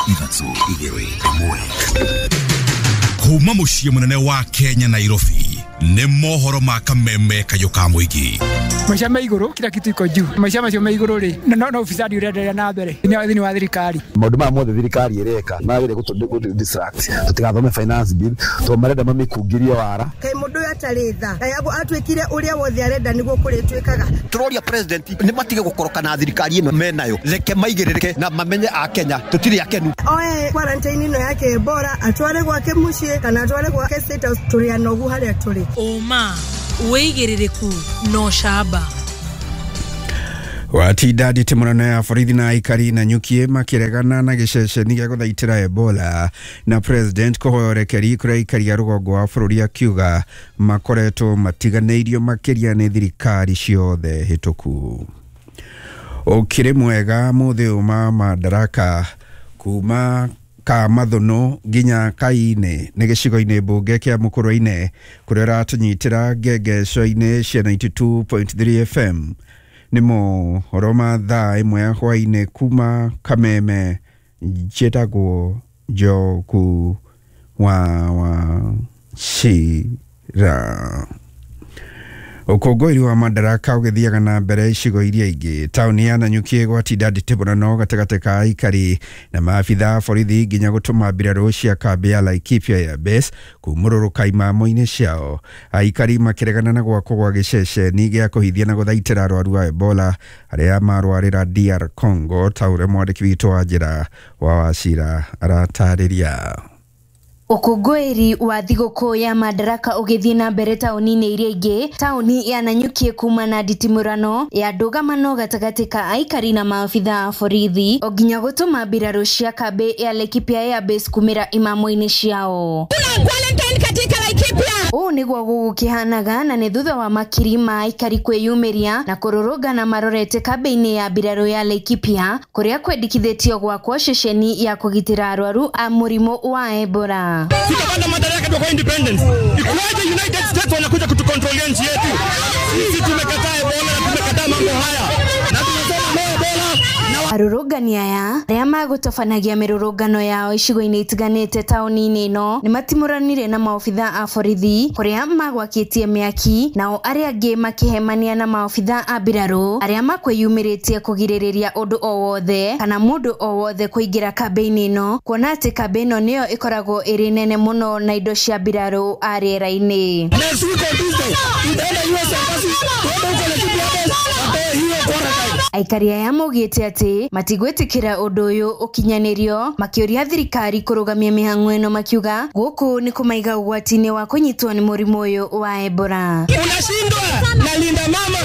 3 2 1. Kuma muciĩ mũnene wa Kenya Nairobi nĩ mohoro ma kameme kayũ ka mũingĩ. Maica me igũrũ, kila kitu iko juu. Maica macio me igũrũ rĩ, no ufisadi ũrenderea na mbere thĩinĩ wa thirikari. Maũndũ maya mothe thirikari ĩreka magĩrĩire gũtũ distract tũtigathome finance bill tondũ marenda mamĩkungĩrie wara. Kaĩ mũndũ ũyũ atarĩ tha, kaĩ atuĩkire ũrĩa wothe arenda nĩguo kũrĩtuĩkaga. Tũroria president nĩ matige gũkoroka na thirikari ĩno menayo, reke maigĩrĩrĩke na mamenye a Kenya tũtirĩ akenu. Oe quarantine ĩno yake Ebola atware gwake mũciĩ kana atware gwake State House, tũrĩ anogu harĩa tũrĩ. Ũma wĩigĩrĩrĩku no camba. Watinda nditimũrano ya borithi na aikari na nyuki makiregana na gĩceceni gĩa gũthaitĩra Ebola na president kũhoya ũrekeri kũrĩ aikari a rũgongo wa bũrũri akiuga makoretwo matiganĩirio makĩria nĩ thirikari ciothe hĩtũku. Ũkĩrĩ mwega mũthĩ ũma Madaraka kuma Kamathuno nginya Kaine nĩ gĩcigo-inĩ mbunge kĩa Mũkũrwe-inĩ kũrĩa ũratũnyitĩra ngengeco-inĩ cia 92.3 FM. Nĩ mohoro ma thaa ĩmwe ya hwaĩ-inĩ kuma Kameme. Njĩtagwo Njogu wa Wachira. Ũkũngũĩri wa Madaraka ũgĩthiaga na mbere icigo iria ingĩ. Taũni ya Nanyuki gwatinda nditĩbũrano gatagatĩ ka aikari na maabitha a borithi nginya gũtũma mbirarũ cia kambĩ ya Laikipia Air Base kumũrũrũka imamo-inĩ ciao. Aikari makĩregana na gwakwo gwa gĩceceni gĩa kũhithia na gũthaitĩra arwaru a Ebola arĩa marwarĩra DR Congo, ta ũrĩa mwandĩki witũ wa njĩra wa Wachira aratarĩria. Ũkũngũĩri wa thigũkũ ya Madaraka ũgĩthiĩ na mbere taũni-inĩ iria ingĩ, taũni ya Nanyuki kuma na nditimũrano ya ndũgamano gatagatĩ ka aikari na maabitha a borithi o nginya gũtũma mbirarũ cia kambĩ ya Laikipia Air Base kumĩra imamo-inĩ ciao. Ũũ nĩguo gũgũkĩhanaga na nĩ thutha wa makiri ma aikari kwĩyumĩria na kũrũrũngana marorete kambĩ-inĩ ya mbirarũ ya Laikipia kũrĩa kwendekithĩtio gwakwo ceceni ya kũgitĩra arwaru a mũrimũ wa Ebola. Tutapanda madaraka kwa independence. Ikuwaje United States wanakuja kutukontrolia nchi yetu? Sisi tumekataa Ebola na tumekataa mambo haya. Na tunasema no Ebola. Arũrũngani aya arĩa magũtabanagia mĩrũrũngano yao icigo-inĩ itiganĩte taũni-inĩ ĩno nĩ matimũranire na maobitha a borithi kũrĩa magwakĩtie mĩaki, nao arĩa angĩ makĩhemania na maobitha a mbirarũ arĩa makwĩyumĩrĩtie kũgirĩrĩria ũndũ o wothe kana mũndũ o wothe kũingĩra kambĩ-inĩ ĩno, kuona atĩ kambĩ ĩno nĩyo ĩkoragwo ĩrĩ nene mũno na indo cia mbirarũ a rĩera-inĩ. Next week on Tuesday, tutaenda US Embassy, tuende huko Laikipia Air Base, watoe hiyo quarantine. Aikari aya maugĩte atĩ matigwĩtĩkĩra ũndũ ũyũ ũkinyanĩrio, makĩũria thirikari kũrũgamia mĩhang'o ĩno, makiuga gũkũ nĩ kũmaiga ũgwati-inĩ wa kũnyitwo nĩ mũrimũ ũyũ wa Ebola. Unashindwa na Linda Mama,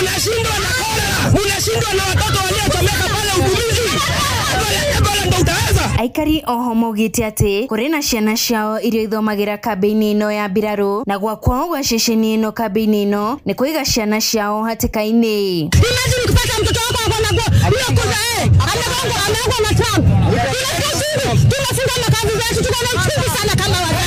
unashindwa na cholera, unashindwa na watoto waliochomeka pale Utumizi. Ebola ndo utaweza. Aikari oho maugĩte atĩ kũrĩ na ciana ciao iria ithomagĩra kambĩ-inĩ ĩno ya mbirarũ na gwakwao gwa ceceni ĩno kambĩ-inĩ ĩno nĩ kũiga ciana ciao hatĩka-inĩ. Imagine ukipata mtoto wako akona hiyo kuza amegongwa na Trump. Tunafunga makazi zetu, tuko na uchungu sana kama wazazi.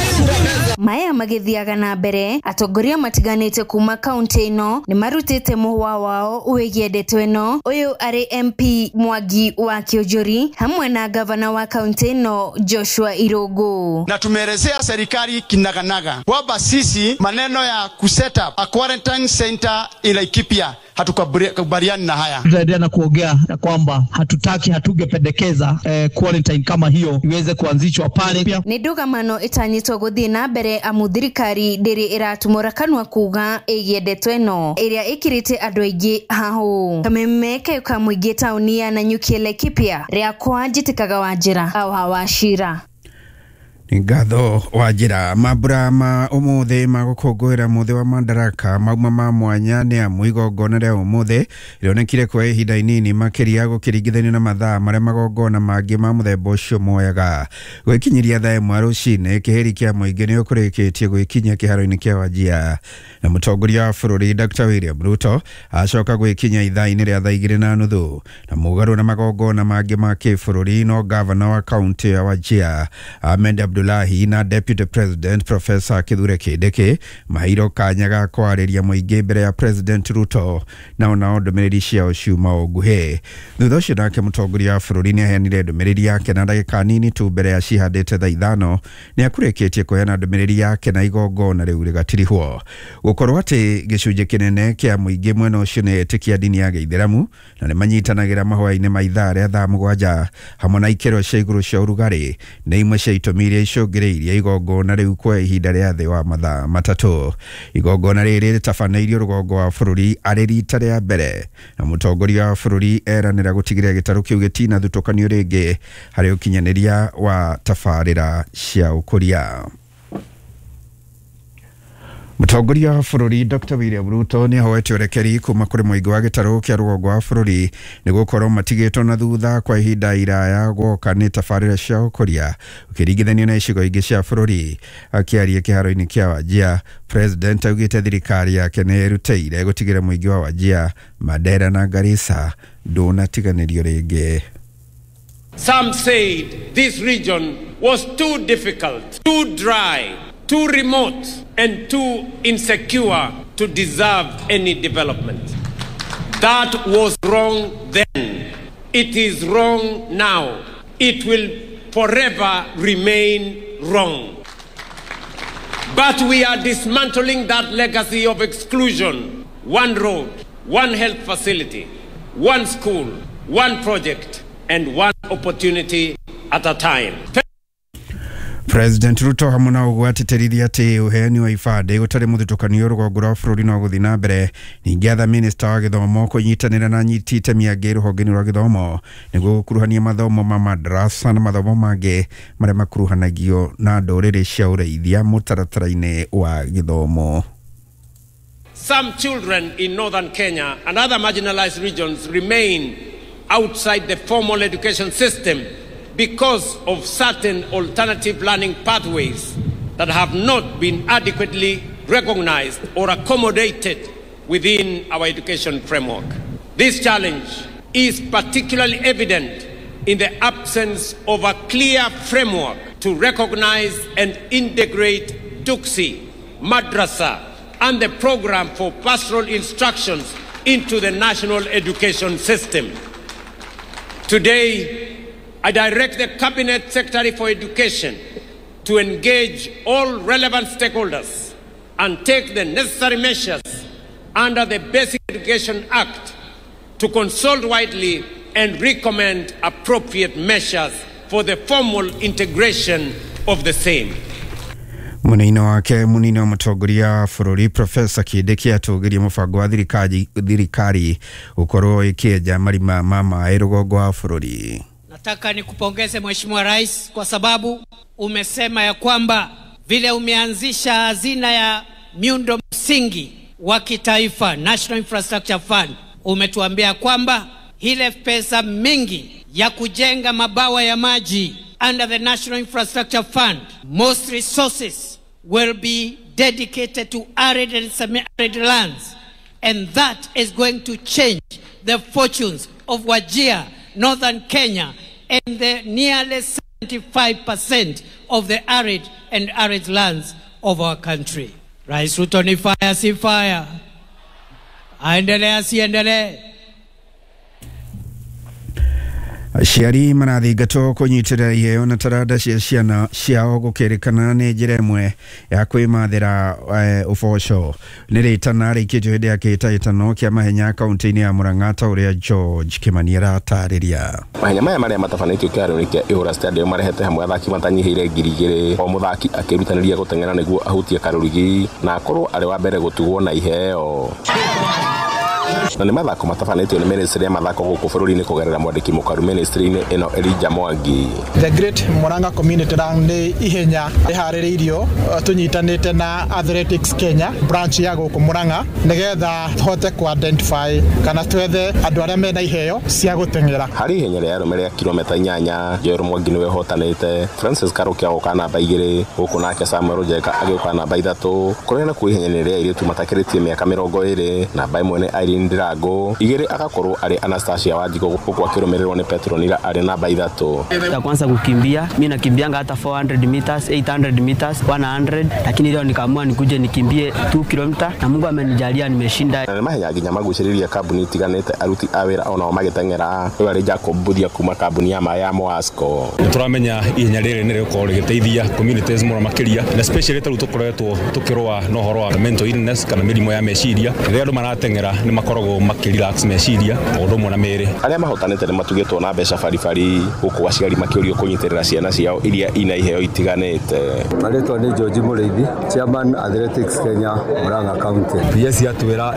Maya magĩthiaga na mbere, atongoria matiganĩte kuma kaunti ĩno nĩ marutĩte mũhwa wao wĩgiĩ ndeto ĩno. Ũyũ arĩ MP Mwangi wa Kĩũnjũri hamwe na gavana wa kaunti ĩno Joshua Irũngũ. Na tumeelezea serikali kinaganaga kwamba sisi maneno ya kuset up a quarantine center in Laikipia hatukubaliani na haya. Tutaendelea na kuongea ya kwamba hatutaki, hatungependekeza quarantine kama hiyo iweze kuanzishwa pale. Nĩ ndũgamano ĩtanyĩtwo gũthiĩ na mbere amu thirikari ndĩrĩ ĩratumũra kanua kuga ĩgiĩ ndeto ĩno ĩrĩa ĩkĩrĩte andũ aingĩ hahũ. Kameme kayũ ka mũingĩ taũni ya Nanyuki Laikipia, rĩakwa njĩtĩkaga Wanjĩra wa Wachira. Ngatho Wanjĩra. Mambura ma ũmũthĩ ma gũkũngũĩra mũthĩ wa Madaraka mauma ma mwanya nĩ amu igongona rĩa ũmũthĩ rĩonekire kwa ihinda inini makĩria gũkĩringithanio na mathaa marĩa magongona mangĩ ma mũthemba ũcio moyaga. Gwĩkinyiria thaa ĩmwe rũcinĩ kĩhĩri kĩa mũingĩ nĩ ũkũrĩkĩtie gwĩkinyia kĩharo-inĩ kĩa Wajir na mũtongoria wa bũrũri Dr. William Ruto acoka gwĩkinyia ithaa-inĩ rĩa thaa 2:30 na mũgarũ na magongona mangĩ ma kĩbũrũri no gavana wa kaunti ya Wajir Ahmed Abdul Abdullahi na Deputy President Professor Kithure Kindiki maheirwo kanya ga kwarĩria mũingĩ mbere ya President Ruto, nao nao ndũmĩrĩri ciao ciuma o nguhĩ. Thutha ũcio nake mũtongoria wa bũrũri nĩ aheanire ndũmĩrĩri yake na ndagĩka nini tu mbere ya cihandĩte thaa 5 nĩ akurĩkĩtie kũheana ndũmĩrĩri yake na igongona rĩu rĩgatirihwo. Gũkorwo atĩ gĩcunjĩ kĩnene kĩa mũingĩ mwena ũcio nĩ etĩkia ndini ya gĩithĩramu na nĩ manyitanagĩra mahoya-inĩ ma ithaa rĩa thaa 7 hamwe na ikĩro cia igũrũ cia ũrugarĩ nĩ imwe cia itũmi iria icũngĩrĩirie igongona rĩu kwa ihinda rĩa thĩ wa mathaa 3. Igongona rĩrĩ rĩtabanĩirio rũgongo wa bũrũri arĩ rita rĩa mbere, na mũtongoria wa bũrũri eranĩra gũtigĩrĩra gĩtarũ kĩu gĩtinathutũkanio rĩngĩ harĩ ũkinyanĩria wa tabarĩra cia ũkũria. Mũtongoria wa bũrũri Dr William Ruto nĩ ahoete ũrekeri kuma kũrĩ mũingĩ wa gĩtarũ kĩa rũgongo wa bũrũri nĩ gũkorwo matigĩtwo na thutha kwa ihinda iraya gwoka nĩ tabarĩra cia ũkũria ũkĩringithanio na icigo ingĩ cia bũrũri. Akĩaria kĩharo-inĩ kĩa Wajir, President augĩte thirikari yake nĩ ĩrutĩire gũtigĩrĩra mũingĩ wa Wajir, Mandera na Garissa ndũnatiganĩrio rĩngĩ. Some said this region was too difficult, too dry, too remote, and too insecure to deserve any development. That was wrong then. It is wrong now. It will forever remain wrong. But we are dismantling that legacy of exclusion. One road, one health facility, one school, one project, and one opportunity at a time. President Ruto hamwe na ũguo atĩtĩrithia atĩ ũheani wa ibandĩ gũtarĩ mũthutũkanio rũgongo rwa bũrũri no gũthiĩ na mbere. Ningĩ atha minista wa gĩthomo kũnyitanĩra na anyiti itemi angĩ rũhonge-inĩ rwa gĩthomo nĩguo gũkuruhania mathomo ma madrasa na mathomo mangĩ marĩa makuruhanagio na ndũrĩrĩ cia ũrĩithia mũtaratara-inĩ wa gĩthomo. Some children in northern Kenya and other marginalized regions remain outside the formal education system because of certain alternative learning pathways that have not been adequately recognized or accommodated within our education framework. This challenge is particularly evident in the absence of a clear framework to recognize and integrate Duksi, Madrasa, and the program for pastoral instructions into the national education system. Today, I direct the Cabinet Secretary for Education to engage all relevant stakeholders and take the necessary measures under the Basic Education Act to consult widely and recommend appropriate measures for the formal integration of the same. Mwena-inĩ wake, mũnini wa mũtongoria wa bũrũri Profesa Kindiki atũgĩria mũbango wa thirikari gũkorwo ĩkĩenja marima ma maĩ rũgongo wa bũrũri. Nataka nikupongeze, Mheshimiwa Rais, kwa sababu umesema ya kwamba vile umeanzisha hazina ya miundo msingi wa kitaifa, National Infrastructure Fund, umetuambia kwamba ile pesa mingi ya kujenga mabawa ya maji under the National Infrastructure Fund, most resources will be dedicated to arid and semi-arid lands. And that is going to change the fortunes of Wajir, northern Kenya, and the nearly 75% of the arid and arid lands of our country. Rais Ruto ni fire, si fire? Aendelee, asiendelee? Aciari marathingatwo kũnyitĩrĩra iheo na taranda cia ciana ciao gũkĩrĩkana nĩ njĩra ĩmwe ya kwĩmathĩra ũboco. Nĩ rĩtana rĩikĩtio hĩndĩ ya kĩhĩtahĩtano kĩa mahenya kaunti-inĩ ya Murang'a, ta ũrĩa George Kĩmani aratarĩria. Mahenya maya marĩa matabanĩtio kĩharo-inĩ kĩa Ihũra Stadium marehete hamwe athaki matanyihĩire 2000, o mũthaki akĩrutanĩria gũteng'era nĩguo ahutie karũrigi na akorwo arĩ wa mbere gũtugwo na iheo. Na nĩ mathako matabanĩtio nĩ ministry ya mathako gũkũ bũrũri-inĩ kũgerera mwandĩki mũkaru ministry-inĩ ĩno, Elijah Mwangi. The Great Murang'a Community Run nĩ ihenya rĩharĩrĩirio tũnyitanĩte na Athletics Kenya branch ya gũkũ Murang'a, nĩgetha tũhote ku identify kana twethe andũ arĩa mena iheo cia gũteng'era. Harĩ ihenya rĩa arũme rĩa kilomita 8, Joel Mwangi nĩwe ũhotanĩte, Francis Karuki agoka namba 2, gũkũ nake Samuel Njeka agĩũka namba 3. Kũrĩa nakuo ihenya-inĩ rĩa airĩtu matakĩrĩtie mĩaka 20, namba 1 nĩ Jacqueline Ndirango, 2 agakorwo arĩ Anastasia Wanjigũ, huku akĩrũmĩrĩrwo nĩ Petronila arĩ namba 3. Ya kwanza kukimbia, mi nakimbianga hata 400 meters, 800 meters, 100, lakini leo nikaamua nikuje nikimbie 2 km na Mungu amenijalia nimeshinda. Na nĩ mahenya nginya magucĩrĩria kambuni itiganĩte aruti a wĩra onao magĩteng'era. Ũyũ arĩ Jacob Mbuthia kuma kambuni ya maĩ ya Moasco. Nĩ tũramenya ihenya rĩrĩ nĩ rĩgũkorwo rĩgĩteithia communities mũno makĩria, na especially ta rĩu tũkoretwo tũkĩrũa na ũhoro wa mental illness kana mĩrimũ ya meciria. Rĩrĩa andũ marateng'era nĩ makoragwo makĩrelax meciria o ũndũ ũmwe na mĩĩrĩ. Arĩa mahotanĩte nĩ matugĩtwo na mbeca baribari, gũkũ aciari makĩũrio kũnyitĩrĩra ciana ciao iria ina iheo itiganĩte. Marĩtwa nĩ George Mũrĩithi, Chairman Athletics Kenya, Murang'a County. PS yatwĩra